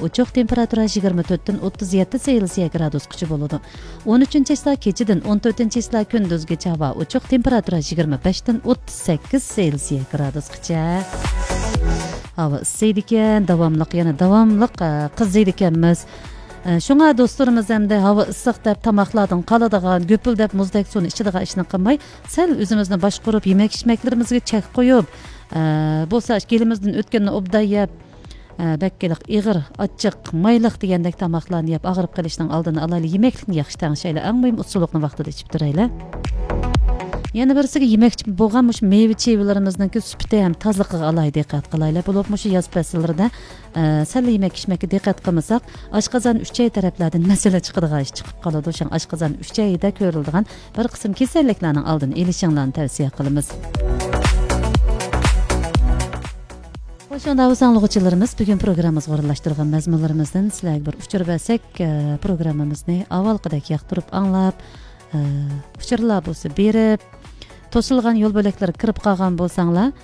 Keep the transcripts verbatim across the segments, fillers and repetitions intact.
ئوچۇق، تېمپېراتۇرا يىگىرمە تۆتتىن ئوتتۇز يەتتە سېلسىيە گرادۇسقىچە بولىدۇ. ئون ئۈچىنچى چىسلا كېچىدىن ئون تۆتىنچى چىسلا كۈندۈزگىچە ھاۋا ئوچۇق، تېمپېراتۇرا يىگىرمە بەشتىن ئوتتۇز سەككىز سېلسىيە گرادۇسقىچە. ھاۋا ئىسسىيدىكەن، داۋاملىق، يەنە داۋاملىق، ئە، قىزىيدىكەنمىز. ئە، شۇڭا دوستلىرىمىز ئەمدى ھاۋا ئىسسىق دەپ تاماقلاردىن قالىدىغان، گۈپۈلدەپ مۇزدەك سۇنى ئىچىدىغان ئىشنى قىلماي، سەل ئۆزىمىزنى باشقۇرۇپ، يېمەك-ئىچمەكلىرىمىزگە چەك قويۇپ، ئە، بولسا گېلىمىزدىن ئۆتكەننى ئوبدان يەپ، ئە، بەك ئېغىر، ئاچچىق، مايلىق دېگەندەك تاماقلارنى يەپ، ئاغرىپ قېلىشنىڭ ئالدىنى ئالايلى، يېمەكلىكنى ياخشى تەڭشەيلى، ئەڭ مۇھىم ئۇسسۇلۇقنى ۋاقتىدا ئىچىپ تۇرايلى. يەنە بىرسىگە، يېمەكچى بولغان مۇشۇ مېۋە چىۋىلىرىمىزنىڭكى سۈپىتى ھەم تازىلىقىغا ئالاھىدە دىققەت قىلايلى. بولۇپمۇ مۇشۇ ياز پەسىللىرىدە، ئە، سەل يېمەك ئىچمەككە دىققەت قىلمىساق، ئاشقازان ئۈچەي تەرەپلەردىن مەسىلە چىقىدىغان ئىش چىقىپ قالىدۇ. شۇڭا ئاشقازان ئۈچەيدە كۆرۈلىدىغان بىر قىسىم كېسەللىكلەرنىڭ ئالدىنى ئېلىشىڭلارنى تەۋسىيە قىلىمىز. خوش، ئۇنداق بولسا ئاڭلىغۇچىلىرىمىز، بۈگۈن پروگراممىمىزغا ئورۇنلاشتۇرغان مەزمۇنلىرىمىزدىن سىلەرگە بىر ئۇچۇر بەرسەك، ئە، پروگراممىمىزنى ئاۋۋالقىدەك ياقتۇرۇپ ئاڭلاپ، ئە، ئۇچۇرلار بولسا بېرىپ، توسۇلغان يول بۆلەكلىرىگە كىرىپ قالغان بولساڭلار،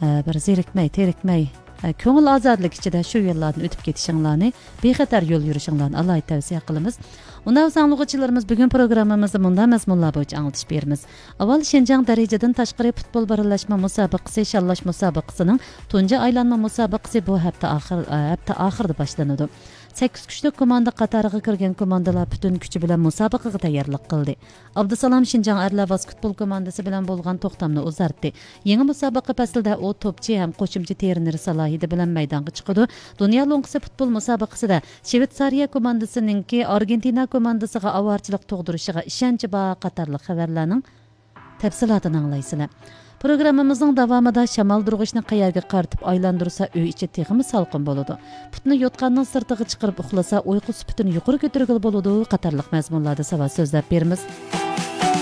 ئە، بىر زېرىكمەي، تېرىكمەي، ئە، كۆڭۈل ئازادىلىكى ئىچىدە شۇ يوللاردىن ئۆتۈپ كېتىشىڭلارنى، بىخەتەر يول يۈرۈشۈڭلارنى ئالاھىدە تەۋسىيە قىلىمىز. ئۇنداق بولسا ئاڭلىغۇچىلىرىمىز، بۈگۈن پروگراممىمىزدا مۇنداق مەزمۇنلار بويىچە ئاڭلىتىش بېرىمىز. ئاۋۋال شىنجاڭ دەرىجىدىن تاشقىرى پۇتبول بىرلەشمە مۇسابىقىسى، شاللاش مۇسابىقىسىنىڭ تۇنجى ئايلانما مۇسابىقىسى بۇ ھەپتە ئاخىر، ئە، ھەپتە ئاخىرىدا باشلىنىدۇ. سەككىز كۈچلۈك كوماندا قاتارىغا كىرگەن كوماندىلار پۈتۈن كۈچى بىلەن مۇسابىقىگە تەييارلىق قىلدى. ئابدۇسالام شىنجاڭ ئەرلەر ۋاسكېتبول كوماندىسى بىلەن بولغان توختامنى ئۇزارتتى. يېڭى مۇسابىقە پەسلىدە ئۇ توپچى ھەم قوشۇمچە ترېنېر سالاھىيىتى بىلەن مەيدانغا چىقىدۇ. دۇنيا لوڭقىسى پۇتبول مۇسابىقىسىدە شىۋېتسارىيە كوماندىسىنىڭكى ئارگېنتىنا كوماندىسىغا ئاۋارىچىلىق تۇغدۇرۇشىغا ئىشەنچى بار قاتارلىق خەۋەرلەرنىڭ تەپسىلاتىنى ئاڭلايسىلەر. پروگراممىمىزنىڭ داۋامىدا شامالدۇرغۇچنى قەيەرگە قارىتىپ ئايلاندۇرسا ئۆي ئىچى تېخىمۇ سالقىن بولىدۇ، پۇتنى يوتقاننىڭ سىرتىغا چىقىرىپ ئۇخلىسا ئۇيقۇ سۈپىتىنى يۇقىرى كۆتۈرگىلى بولىدۇ قاتارلىق مەزمۇنلاردا ساۋات سۆزلەپ بېرىمىز.